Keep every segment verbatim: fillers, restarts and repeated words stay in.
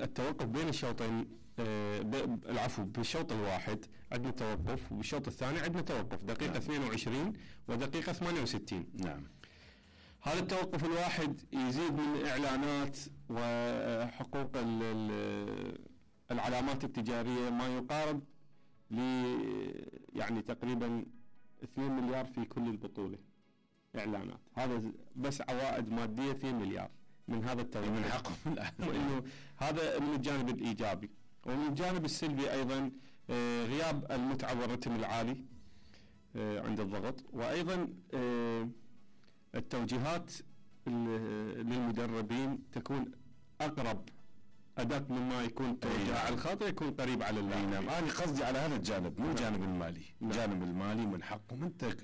التوقف بين الشوطين، آه العفو بالشوط الواحد عندنا توقف، وبالشوط الثاني عندنا توقف دقيقة نعم. اثنين وعشرين ودقيقة ثمانية وستين. نعم. هذا التوقف الواحد يزيد من إعلانات وحقوق العلامات التجارية ما يقارب ل يعني تقريبا اثنين مليار في كل البطولة إعلانات. هذا بس عوائد مادية اثنين مليار من هذا التوقف من حقهم. إنه هذا من الجانب الإيجابي. ومن الجانب السلبي أيضا آه غياب المتعة والرتم العالي آه عند الضغط، وأيضا آه التوجيهات للمدربين تكون أقرب أدق مما يكون توجيه على الخاطئ، يكون قريب على اللاعب. نعم. أنا قصدي على هذا الجانب مو الجانب المالي. نعم. الجانب المالي من حقهم. أنت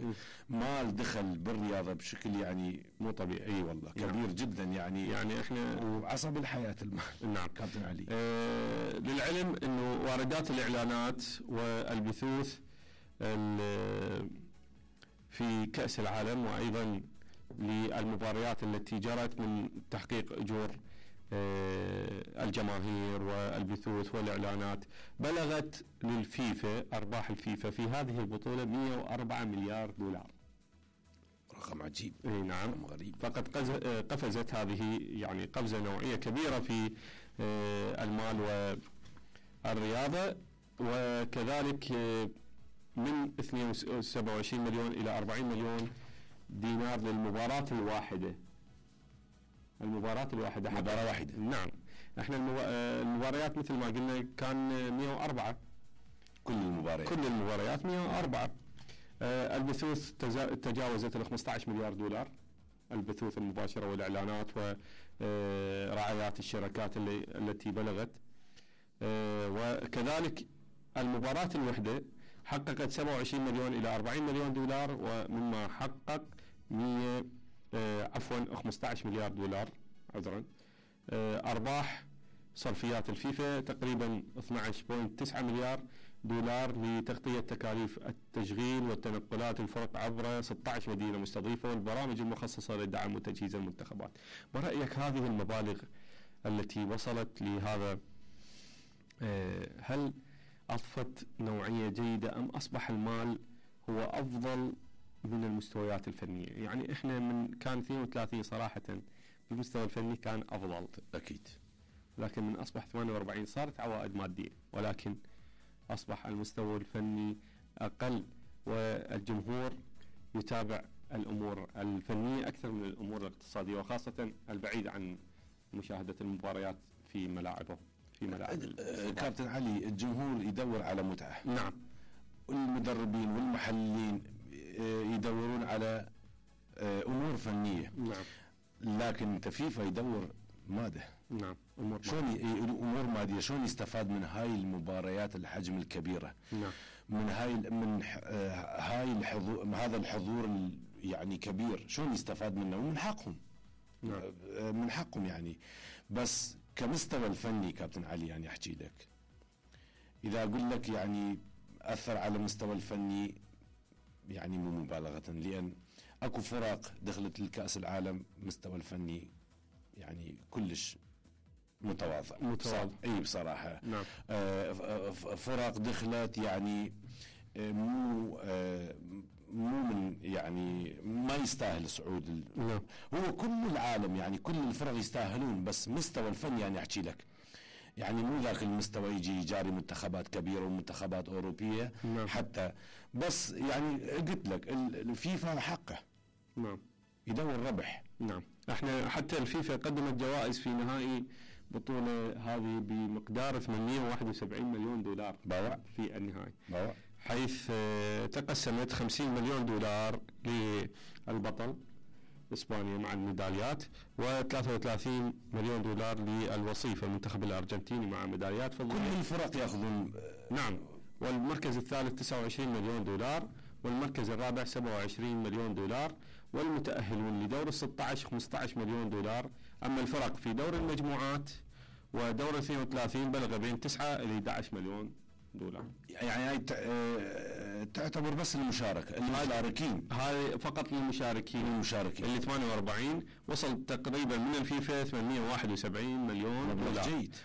مال دخل بالرياضة بشكل يعني مو طبيعي. أي والله كبير نعم. جدا يعني يعني إحنا وعصب الحياة المال. نعم كابتن علي. آه للعلم إنه واردات الإعلانات والبثوث في كأس العالم وأيضا للمباريات التي جرت من تحقيق أجور الجماهير والبثوث والإعلانات بلغت للفيفا أرباح الفيفا في هذه البطولة مئة وأربعة مليار دولار. رقم عجيب. اي نعم. رقم غريب. فقد قفزت هذه يعني قفزة نوعية كبيرة في المال والرياضة، وكذلك من اثنين وسبعة وعشرين مليون إلى أربعين مليون دينار للمباراة الواحدة. المباراة الواحدة مباراة واحدة. نعم. احنا المباريات مثل ما قلنا كان مئة وأربعة كل المباريات كل المباريات مئة وأربعة. آه البثوث تجاوزت ال خمسة عشر مليار دولار، البثوث المباشرة والإعلانات ورعايات الشركات اللي التي بلغت. آه وكذلك المباراة الوحدة حققت سبعة وعشرين مليون إلى أربعين مليون دولار، ومما حقق مئة آه عفوا خمسة عشر مليار دولار عذرا. آه أرباح صرفيات الفيفا تقريبا اثني عشر فاصلة تسعة مليار دولار لتغطية تكاليف التشغيل والتنقلات الفرق عبر ستة عشر مدينة مستضيفة والبرامج المخصصة لدعم وتجهيز المنتخبات. برأيك هذه المبالغ التي وصلت لهذا آه هل أضفت نوعية جيدة أم أصبح المال هو أفضل من المستويات الفنية؟ يعني إحنا من كان اثنين وثلاثين صراحة بالمستوى الفني كان أفضل أكيد، لكن من أصبح ثمانية وأربعين صارت عوائد مادية، ولكن أصبح المستوى الفني أقل والجمهور يتابع الأمور الفنية أكثر من الأمور الاقتصادية، وخاصة البعيد عن مشاهدة المباريات في ملاعبه في ملاعب. كابتن علي، الجمهور يدور على متعة. نعم. والمدربين والمحللين يدورون على أمور فنية. نعم. لكن تفيفا يدور ماده. نعم. أمور شلون أمور مادية، شلون يستفاد من هاي المباريات الحجم الكبيرة؟ نعم. من هاي من هاي الحضور، هذا الحضور يعني كبير، شلون يستفاد منه؟ ومن حقهم. نعم. من حقهم يعني. بس كمستوى الفني كابتن علي يعني أحكي لك، إذا أقول لك يعني أثر على المستوى الفني يعني مو مبالغة، لأن أكو فرق دخلت للكأس العالم مستوى الفني يعني كلش متواضع. متواضع. اي بصراحة. نعم. آه فرق دخلت يعني مو آه مو من يعني ما يستاهل صعود. نعم. هو كل العالم يعني كل الفرق يستاهلون، بس مستوى الفن يعني احكي لك يعني مو ذاك المستوى يجي يجاري منتخبات كبيرة ومنتخبات أوروبية. نعم. حتى بس يعني قلت لك الفيفا حقه. نعم. يدور ربح. نعم. احنا حتى الفيفا قدمت جوائز في نهائي بطولة هذه بمقدار ثمانمئة وواحد وسبعين مليون دولار باوع في النهائي، باوع. حيث تقسمت خمسين مليون دولار للبطل إسبانيا مع الميداليات، وثلاثة وثلاثين مليون دولار للوصيف المنتخب الأرجنتيني مع ميداليات فضية. كل الفرق يأخذون. نعم. والمركز الثالث تسعة وعشرين مليون دولار، والمركز الرابع سبعة وعشرين مليون دولار، والمتأهلون لدور الستة عشر خمسة عشر مليون دولار. أما الفرق في دور المجموعات ودور اثنين وثلاثين بلغ بين تسعة إلى أحد عشر مليون دولار. يعني هاي تعتبر بس المشاركة المشاركين، هاي فقط للمشاركين. المشاركين اللي ثمانية وأربعين وصل تقريبا من الفيفا ثمانمئة وواحد وسبعين مليون دولار. جيد.